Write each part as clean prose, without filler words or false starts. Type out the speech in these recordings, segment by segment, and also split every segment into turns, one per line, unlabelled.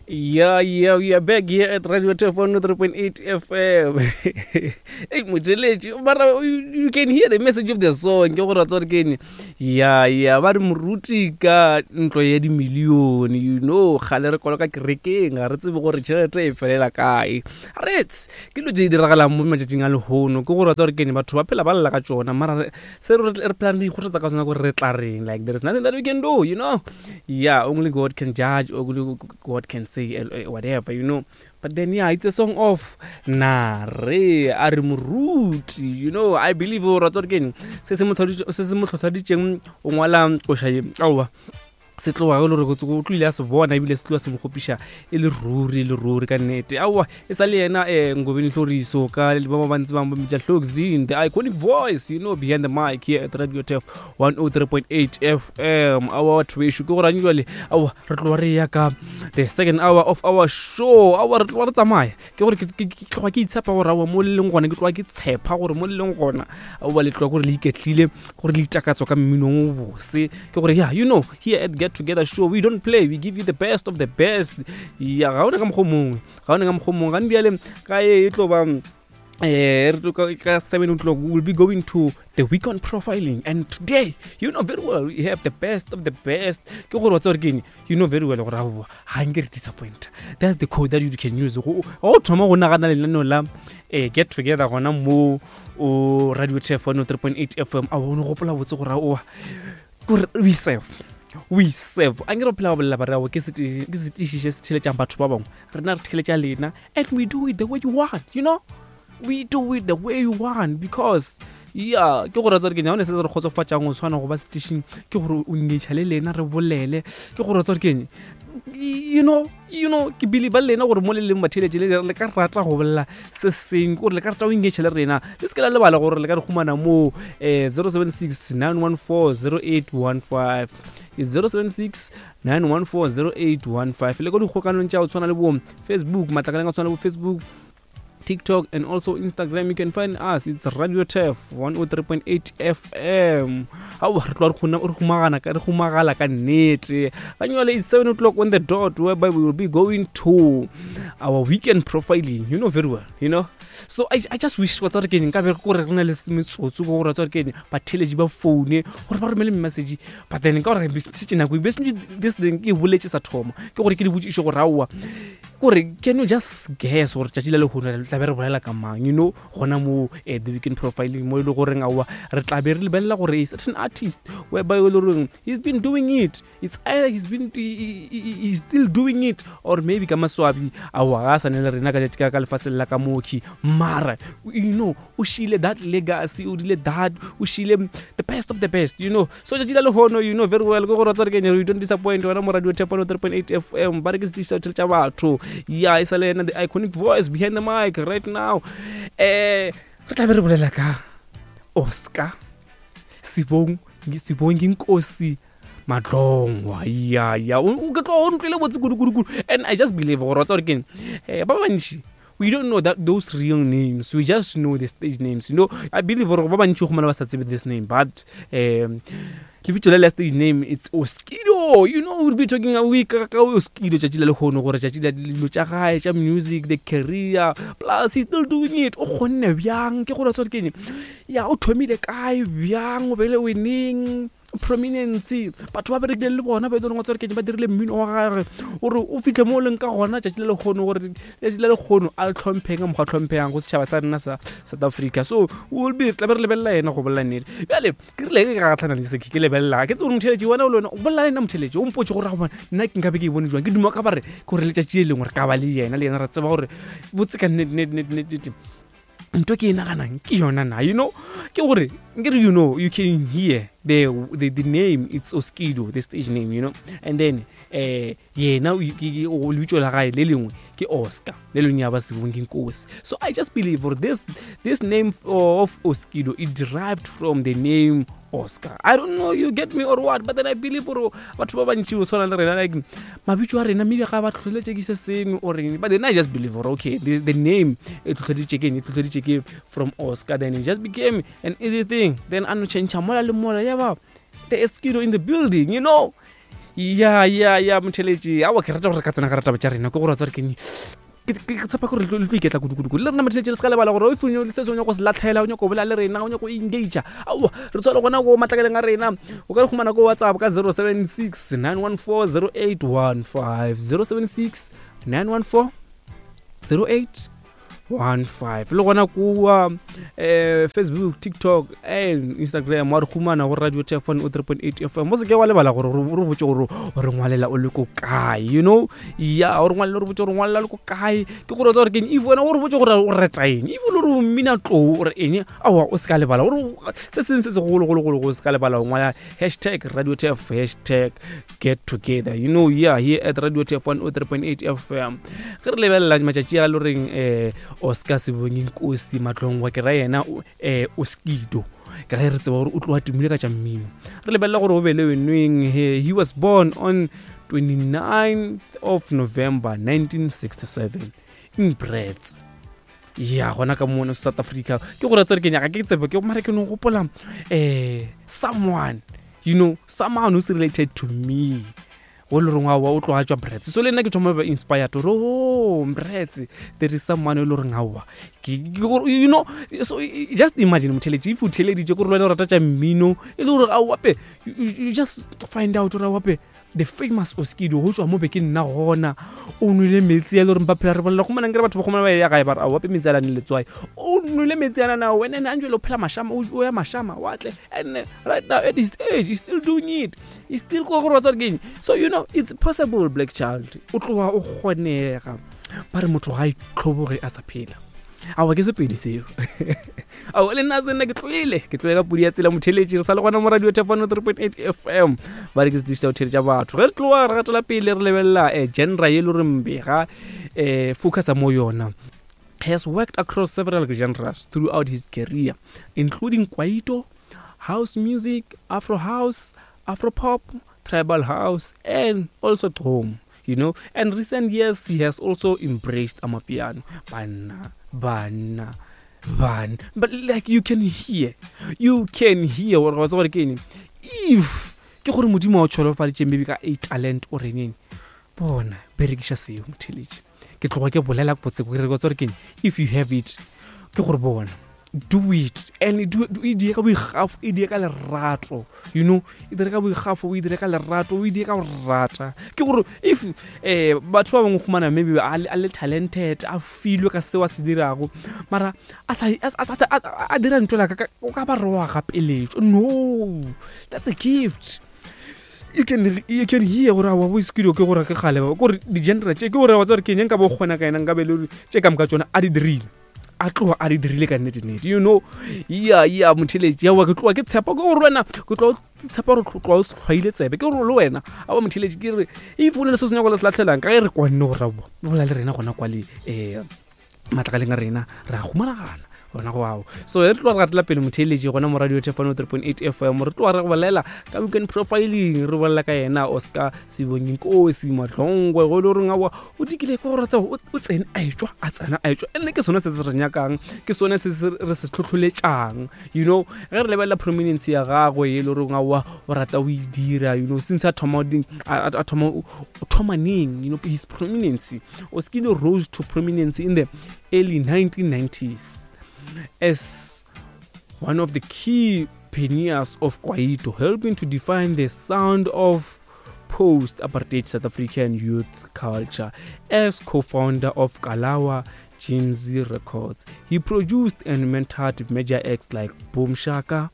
Yeah, yeah, we are back here at Radio Turf 103.8 FM. Hey, motheletši, mara you can hear the message of the song. Ke gore wa tseba gore ke eng? Yeah, yeah, ba re moruti ka ntlo ya dimilione, you know, kgale re koloka kerekeng, ga re tsebe gore tšhelete e felela kae. Rets, ke dilo tše di diragalang mo matšatšing a lehono, ke gore wa tseba gore ke eng, batho ba phela ba lla ka tšona, mara se re re phelang re ikgothatsa ka sona gore re tla reng, like there is nothing that we can do, you know. Yeah, only God can judge, only God can say eh, whatever, you know. But then, yeah, it's a song of Nare, a re moruti, you know. I believe gore tsore keng se se mo tlhotlhaditseng o ngwala koša ye aowa se tloga e le gore o tlile a se bona ebile se tloga se mo kgopiša e le ruri e le ruri ka nnete aowa e sa le yena um ngobeni hloriso ka ba ba bantsi ba mmitša hlokzin the iconic voice you know behind the mic here at radio tef 103.8 fm aowa batho bešo ke gore ane jale aowa re tloga re ya ka the second hour of our show aowa re tloga re tsamaya ke gore ke tloga ke itshepa gore aowa mo le leng gona ke tloga ke tshepa gore mo le leng gona aowa le tloga gore le iketlile gore le itakatso ka mminong o bose ke gore yeah you know here at get together show we don't play we give you the best of the best ya ga one ka mokgwa mongwe ga one ka mokgwa mongwe gane bjale ka e tlo ba eh re tlo ka 7 o'clock we will be going to the weekend profiling and today you know very well we have the best of the best ke gore wa tseba gore ke eng you know very well gore aowa ga nke re disappoint that's the code that you can use go o thoma go nagana lenaneo la eh, get together gona mo o radio tf 103.8 fm a o ne gopola botse gore aowa kore we serve we serve a nke re phela go bolela bare ao ke setiši se se theletšang batho ba bangwe rena re theletša lena and we do it the way you want you know we do it the way you want because ya ke gore tsare ke nyane se re kgotsofatšang go tshwana go ba setišing ke gore o ngetšha le lena re bolele ke gore tsare ke you know you know ke believe le lena gore mo le leng batheletše le le ka rata go bolela se seng gore le ka rata go engage le rena le se ke la lebala gore le ka re humana mo um 076 914 0815 076 914 0815 le ka dikgokanong tša go tshwana le bo facebook matlakaleng a tshwana le bo facebook TikTok and also Instagram. You can find us. It's Radio Turf 103.8 FM. Aowa re tloga re humagana ka re humagala ka nnete. Ganyole it's 7 o'clock on the dot whereby we will be going to our weekend profiling. You know very well, you know. So I, I just wish wa tsare ke nka be gore re na le metsotso go gore tsare ke batheletši ba phone gore ba romele message but then ka gore setse nako this thing ke boletse sa thoma ke gore ke di botšiše gore aowa kore can you just guess gore tšatši la lehono re tlabe re bolela ka mang you know gona mo eh, the weekend profiling mo e le goreng aowa re tlabe re lebelela gore a certain artist whereby e le goreng he's been doing it it's either he's been he, he, he's still doing it or maybe ka maswabi aowa ga a sane le rena ka tšatši ka lefaseng la ka moki mara you know o šile that legacy o dile that o šile the best of the best you know so tšatši la lehono you know very well ke gore tsare kenya you don't disappoint wena mo radio tepano 3.8 fm ba re ke setiši sa tšhele tša batho ya e sa le ena the iconic voice behind the mic right now eh re tla be re bolela ka oscar sibong sibong ke nkosi matlongwa ya ya o ke tlo o ntlwele botse kudu kudu kudu and i just believe gore wa tsa gore keng eh ba bantši we don't know that those real names we just know the stage names you know i believe gore ba bantši go ba sa tsebe this name but um lebitso le la stage name it's oskido you know we'll be talking a week ka oskido tšatši la lehono gore tšatši la dilo tša gae tša music the career plus he's still doing it o kgonne bjang ke gore tshware keng ya o thomile kae bjang o bele winning prominence batho ba berekile le bona ba e leng gore ke ba dirile mmino wa gagwe gore o fitlhe mo o leng ka gona tšatši le lekgono gore letšatši le lekgono a le tlhompheng ka mokgwa tlhompheyang go setšhaba sa rena sa south africa so will be tlabe re lebelela yena go bolela nnete bjale ke rile ke gatlhana le seke ke lebelela ke tse gore motheletši wena o le wena o bolela le nna motheletši o mpotse gore gobane nna ke nkabe ke e bone jwang ke duma ka bare ke gore letšatši le lengwe re ka ba le yena le yena re tseba gore botse ka nnete nnete nnete nnete nto ke e naganang ke yona na you know ke gore nkere you know you can hear the, the, the name it's oskido the stage name you know and then eh yena lebitso la gae le lengwe ke oscar le lengwe ya ba sebong ke nkosi so i just believe for this, this name of oskido it derived from the name oscar i don't know you get me or what but then i believe gore batho ba bantši o tshwana le rena like mabitso a rena maybe ga ba tlhotlheletše ke se sengwe or eng but then i just believe gore okay the, the name e tlhotlheleditše ke eng e tlhotlheleditše ke from oscar then it just became an easy thing then a no change mola le mola ya ba the esquido in the building you know. Ya ya ya motheletši, aowa ke rata gore re ka tsena ka rataba tša rena, ke gore wa tseba gore ke ke tshepa gore le tlo iketla kudu-kudu le rena motheletši. Re se ka lebala gore if se se o nyako se latlhela, o nyako bolela le rena, o nyako engagea, aowa re tshware gona ko matlakaleng a rena. O ka re humana ko WhatsApp ka 076 914 0815, 076 914 08 15, le gona kua Facebook, TikTok and Instagram wa re humana go Radio Tefon o 3.8 FM. O seke wa lebala gore re botse gore o re ngwalela o le ko kae, you know. Ya o re ngwalela, re botse gore ngwalela le ko kae, ke gore o tsa gore keng. If wena o re botse gore o reta eng, if o le gore o mmina tlou o re eng, aowa o se ka lebala gore se seng se segologologolo, o se ka lebala o ngwala hashtag Radio Tef, hashtag get together, you know. Yeah, here at Radio Tef 103.8 FM, ge re lebelela matšatši a loreng Oscar Sebonginkosi Matlongwa, ke ra yena Oskido, ka ge re tseba gore o tloga tumile ka tša mmino, re lebelela gore o be le wenweng. He was born on 29th of November 1967 in Brits, ya gona ka mona South Africa. Ke gore tsere ke nyaka ke tsebe ke mare ke no gopola someone, you know, someone who's related to me, go le reng aowa o tloga tswa Brits. So le nna ke thoma ba inspired gore, oh, Brits, there is someone e le goreng aowa, you know. So just imagine, motheletši, if o theleditše, kore le wena o rata tša mmino, e le gore aowape you just find out gore aowape the famous Oskido go tswa mo be ke nna gona, o nwele metsi a le goreng ba phela re bolela go manang kere batho ba gomana ba ya gae ba re aowape metsi a lane letswai, o nwele metsi a nana wena ene a njwele o phela mashama, o ya mashama watle, and right now at his age he's still doing it, he's still go gore wa tsare keng. So you know it's possible, black child, o tloga o kgonega. Ba re motho ga itlhoboge a sa phela. Aowa ke Sepedi seo, ao le nna se nna ke tloile, ke tloile ka podi ya tsela. Motheletši, re sa le gona mo Radio Tefano 3.8 FM, ba re ke setiši sa go theletša batho. Ge re tloga re gatela pele re lebelela genre ye le gore mbega focusa mo yona. Has worked across several genres throughout his career, including kwaito, house music, afro house, afro pop, tribal house and also gqom, you know. And recent years he has also embraced amapiano. Banna, banna, banna, but like you can hear, you can hear gore wa tseba gore ke eng. If ke gore Modimo wa o tsholofaditše maybe ka a talent o reneng, bona berekiša seo, motheletši. Ke tloga ke bolela botse ke re wa tseba gore ke eng, if you have it, ke gore bona do it and do e die ka boikgafo, e die ka lerato, you know, e dire ka boikgafo, o e dire ka lerato, o e die ka go rata. Ke gore if batho ba bangwe khumana maybe a le talented, a filwe ka seo a se dirago, mara a sa a dira ntho la ka o ka ba re wa gapeletšwa. No, that's a gift. You can hear gore awa bo Oskido ke gore ke gale gore di-genre tše, ke gore wa tseba gore ke eng, nka bo kgona ka ena nka be le tše ka moka tsona a di dirile, a tloga a di dirile ka nnete-nnete, you know. Ya motheletši, aowa ke tloga ke tshepa ke gore wena, ke tloga tshepa gore tloga o hlwaile tsebe, ke gore le wena aowa motheletši, ke re if o ne le se se nyako le se latlhelang, ka ge re kwanne gore aowa bola le rena gona kwa le matlakaleng a rena re a humanagana gona go ao. So re tloga re gatela pele, motheeletši, gona mo Radio Tefano 3.8 FM, re tloga re bolela ka weekend profiling, re bolela ka yena Oscar Sebonginkosi Matlongwe, go e le goreng aowa o dikile ke gore tseo o tsene a etšwa, a tsena a etšwa, ene ke sone se se re nyakang, ke sone se se re se tlhotlholetšang, you know. Ge re lebelela prominence ya gagwe e le goreng aowa o rata o e dira, you know, since a thoma a thoma o thoma neng, you know, his prominence. Oskido rose to prominence in the early 1990s as one of the key pioneers of kwaito, helping to define the sound of post-apartheid South African youth culture. As co-founder of Kalawa Jazmee Records, he produced and mentored major acts like Boom Shaka,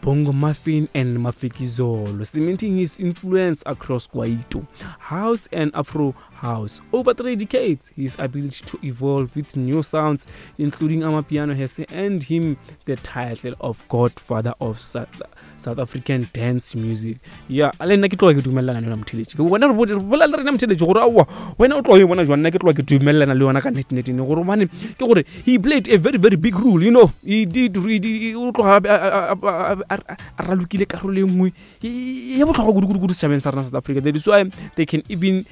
Bongo Maffin and Mafikizolo, cementing his influence across Kwaito, house and Afro house. Over 3 decades, his ability to evolve with new sounds, including Amapiano, has earned him the title of Godfather of South African dance music. Yeah, le nna ke tloga ke dumelelana le yona, motheletši. Ke bona re bolela le rena, motheletši, gore aowa wena o tloga e bona jwang. Nna ke tloga ke dumelelana le yona ka nnete-nnete, gore gobane ke gore he played a very very big role, you know. He did, o tloga a ralokile karolo e nngwe ya botlhokwa kudu-kudu-kudu setšhabeng sa rena South Africa. That is why they can even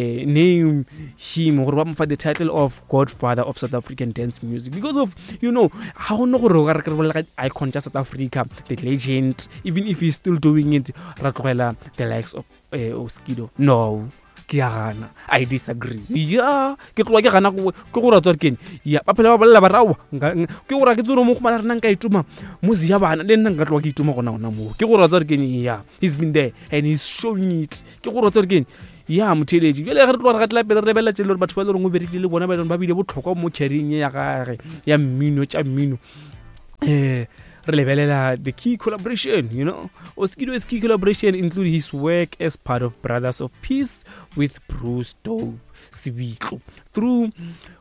name him gore ba mo fa the title of Godfather of South African dance music, because of, you know, ga gone gore o ka re ke re bolela ka icon tša South Africa, the legend, even if he's still doing it, ra tlogela the likes of eh, Oskido no ke ya gana i disagree ya ke tloa ke gana ke gore a tsware kene ya ba phela ba bolela ba rawa ke gore ke tsone mo gomana rena nka itoma mozi ya bana le nna nka tloa ke itoma gona gona moo ke gore a tsware kene ya he's been there and he's showing it ke gore a tsware kene ya motheletši bjale ge re tloga re gatela pele re lebelela tse le gore batho ba e le goreng o berekile le bona ba e leng ba bile botlhokwa mo carrying ya gage ya mmino tša mmino um re lebelela the key collaboration you know Oskido's key collaboration include his work as part of Brothers of Peace with Bruce Dope Sebitlo through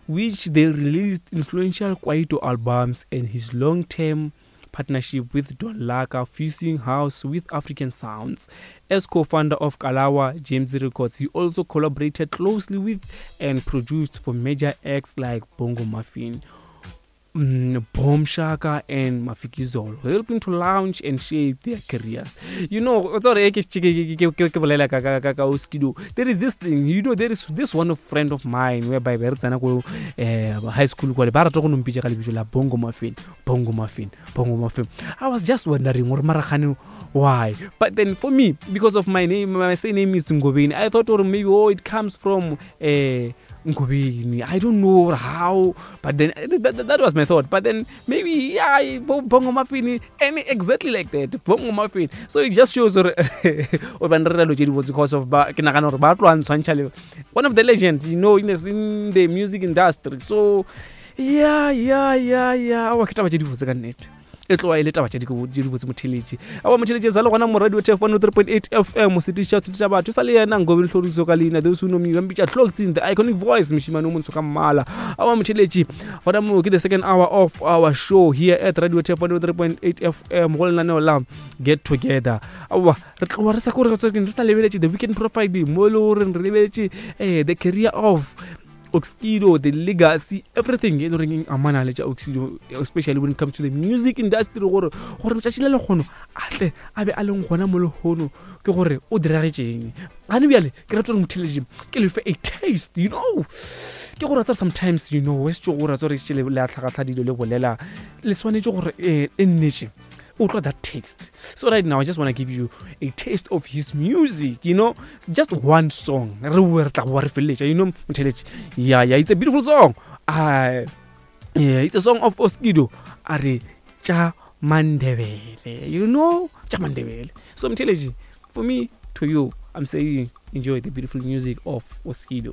which they released influential Kwaito albums and his long-term partnership with Don Laka, fusing house with African sounds. As co-founder of Kalawa James Records, he also collaborated closely with and produced for major acts like Bongo Muffin, mm, Bomb Shaka and Mafikizolo, helping to launch and shape their careers. You know, sorry, ke ke bolela ka ka ka Oskido. There is this thing, you know, there is this one of friend of mine whereby re tsena ko eh, high school kwa ba rata go nompitša ka lebitso la Bongo Muffin, Bongo Muffin, Bongo Muffin. I was just wondering gore maragane why. But then for me, because of my name, my surname is Ngobeni, I thought or maybe oh it comes from eh Ngobeni. I don't know how, but then eh, that, that, that was my thought. But then maybe yeah, Bongo Muffin, and exactly like that, Bongo Muffin. So it just shows or because of ba ke nagana gore ba tloa ntshwantšha le one of the legends, you know, in the, in the music industry. So yeah, yeah, yeah, yeah. Awa ke taba tše di botse ka nnete. E tloga e le taba tša dibotse motheletši awa motheletši sa le gona mo radio tf 103.8 fm setiši tša tša batho sa le yena nkobe hloriso ka leina those who know me ba mpitša Tloktsing the iconic voice mošimane o montsho ka mmala awa motheletši gona mo ke the second hour of our show here at radio tf 103.8 fm go lenaneo la get together awa re tloga re sa kore re sa lebeletše the weekend profile mo e le goreng re lebeletše eh, the career of Oskido, the legacy, everything e le goreng e amana le tša Oskido, especially when it comes to the music industry gore gore letšatši le lekgono a tle a be a leng gona mo lehono ke gore o diragetšeng gane bjale ke rata gore motheletši ke lefe a taste you know ke gore tsare sometimes you know wes tšo gore tsare tše le a tlhagatlha dilo le bolela le swanetše gore eh, e nnetše utlwa that taste so right now i just want to give you a taste of his music you know just one song re boe re tla boa re feleletša you know motheletši yeah yeah it's a beautiful song uh, yeah, it's a song of Oskido a re tša mandebele you know tša mandebele so motheletši for me to you i'm saying enjoy the beautiful music of Oskido.